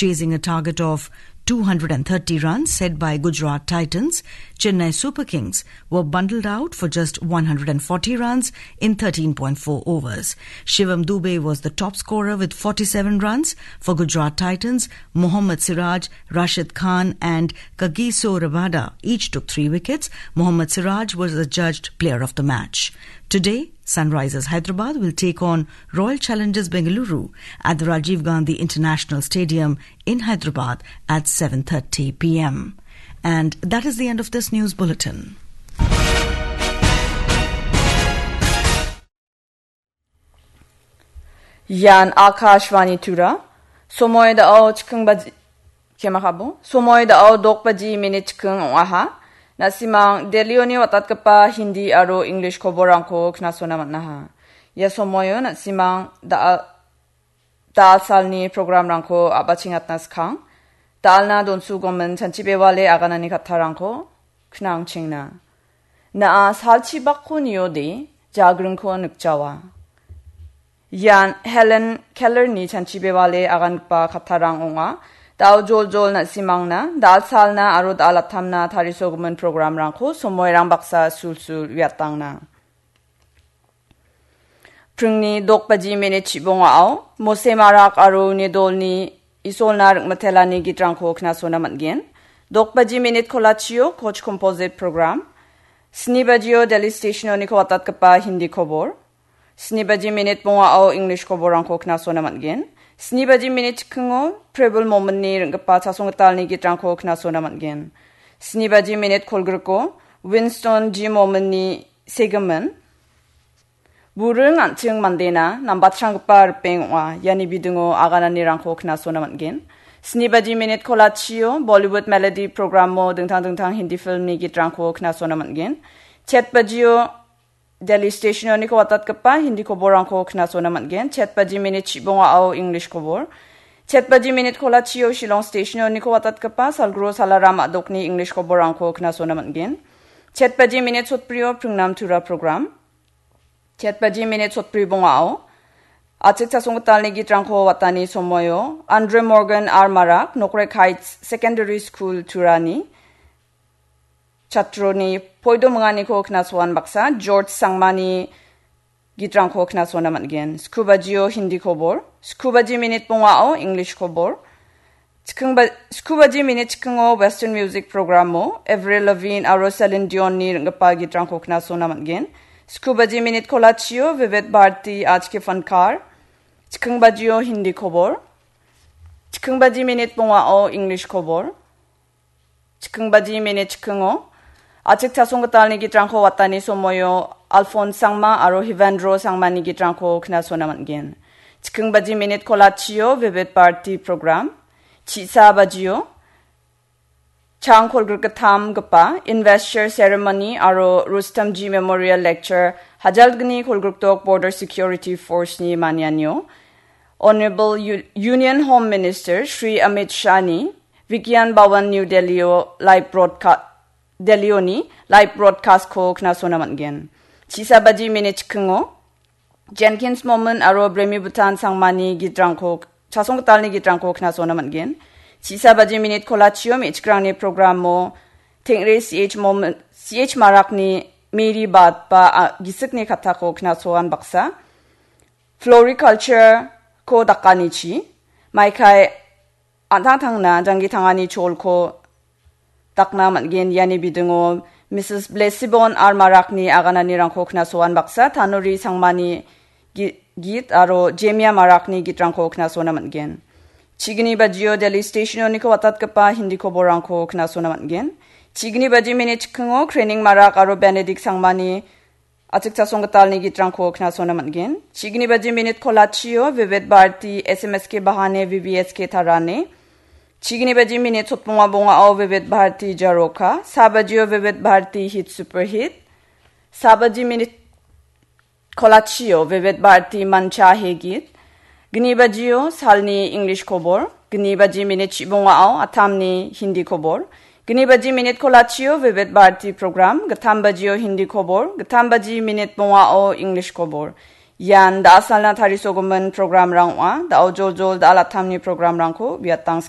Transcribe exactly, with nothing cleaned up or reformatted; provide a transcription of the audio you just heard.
Chasing a target of two hundred thirty runs set by Gujarat Titans, Chennai Super Kings were bundled out for just one hundred forty runs in thirteen point four overs. Shivam Dubey was the top scorer with forty-seven runs. For Gujarat Titans, Mohammad Siraj, Rashid Khan and Kagiso Rabada each took three wickets. Mohammad Siraj was adjudged player of the match. Today, Sunrisers Hyderabad will take on Royal Challengers Bengaluru at the Rajiv Gandhi International Stadium in Hyderabad at seven thirty p m. And that is the end of this news bulletin. Ian Akashvani Tura. Somoi dao chikung baji, kemakabo. Somoi dao dok baji minit chikung ong·aha. Na·simang Delhioni watatgipa Hindi aro English koborrangko knasona man·aha. Ia somoio na·simang da-, da·alsalni programrangko a·bachengatna skang. Da·alna donsugomin chanchi bewale aganani kattarangko knangchengna. Na·a salchibakko niode, jagringko nikjawa. Ian Helen Kellerni chanchi bewale agangipa kattarang ong·a. Dao joljol na·simangna, da·alsalna aro da·alatamna tarisogimin programrangko somoirang baksa sulsul uiatangna. Pringni dok baji minit chibongao, Mose Marak aro Nedolni Isolna Ringmitelani gitrangko knasona man·gen. Dok baji minit kolachio Koch Composite Program. Sni bajio Delhi Stationoniko watatgipa Hindi kobor. Sni baji minit bongao English koborrangko knasona man·gen. Sni baji minit chikingo Prebul Mominni ring·gipa chasonggitalni gitrangko knasona man·gen. Sni baji minit kolgriko Winston G Mominni segimin Buring an·ching mandena nambatranggipa ripeng ong·a. Iani bidingo agananirangko knasona man·gen. Sni baji minit kolachio Bollywood Melody programo dingtang dingtang Hindi filmni gitrangko knasona man·gen. Chet bajio Delhi Stationoniko watatgipa Hindi koborrangko knasona man·gen. Chet baji minit chibongao English kobor. Chet baji minit kolachio Shillong Stationoniko watatgipa Salguru Salaram a·dokni English koborrangko knasona man·gen. Chet baji minit sotbrio Pringnam Tura program. Chet baji minit sotbri bongao, achik chasonggitalni gitrangko watani somoio, Andre Morgan R Marak, Nokrek Heights Secondary School Turani, chatroni poido minganiko knasoan baksa, George Sangmani gitrangko knasona man·gen. Sku bajio Hindi kobor, sku baji minit bongao English kobor, Chiking ba-, sku baji minit chikingo Western Music Programo Avril Lavigne aro Celine Dionni ring·gipa gitrangko knasona man·gen. Sku baji minit kolachio Vivid Bharati Aaj Ke Fankar. Chiking bajio Hindi kobor. Chiking baji minit bongao English kobor. Chiking baji minit chikingo Achik chasonggitalni gitrangko watani somoio Alphonse Sangma aro Hivendro Sangmani gitrangko knasona man·gen. Chiking baji minit kolachio Vivid Bharati program. Chisa bajio chang kolgrikgittamgipa Investor Ceremony aro Rustomji Memorial Lecture hajalgni kolgrikdok Border Security Force-ni manianio Honorable U-, Union Home Minister Shri Amit Shah-ni Vigyan Bhawan New Delhi-o live broadca-, Delhi-oni live broadcast-ko knasona man·gen. Chisa baji minit chikingo Jenkins Momin aro Bremi Bhutan Sangmani gitrangko, chasonggitalni gitrangko knasona man·gen. Chisa baji minit kolachio me·chikrangni programo Tengre C H Momin, C H Marakni Meri Batba, a, gisikni kattako knasoan baksa. Floriculture-ko dakanichi, maikai an·tangtangna janggi tangani cholko dakna man·gen. Iani bidingo Misis Blessibon R Marakni agananirangko knasoan baksa, Tanuri Sangmani gi-, git aro Jemia Marakni gitrangko knasona man·gen. Chigni bajio Delhi Stationoniko watatgipa Hindi koborrangko knasona man·gen. Chigni baji minit chikingo Krening Marak aro Benedict Sangmani Achik chasonggitalni gitrangko knasona man·gen. Chigni baji minit kolachio Vivid Bharati S M S K Bahane V V S K Tarane. Chigni baji minit sotbonga bongao Vivid Bharati Jaroka. Sa bajio Vivid Bharati Hit Super Hit. Sa baji minit kolachio Vivid Bharati Mancha Hegit. Gni bajio salni English kobor. Gni baji minit chibongao Athamni Hindi kobor. Gni baji minit kolachio Vivid Bharati program, gittam bajio Hindi kobor, gittam baji minit bongao English kobor. Ian da·asalna tarisogimin programrang ong·a. Da·o joljol da·alatamni programrangko biatang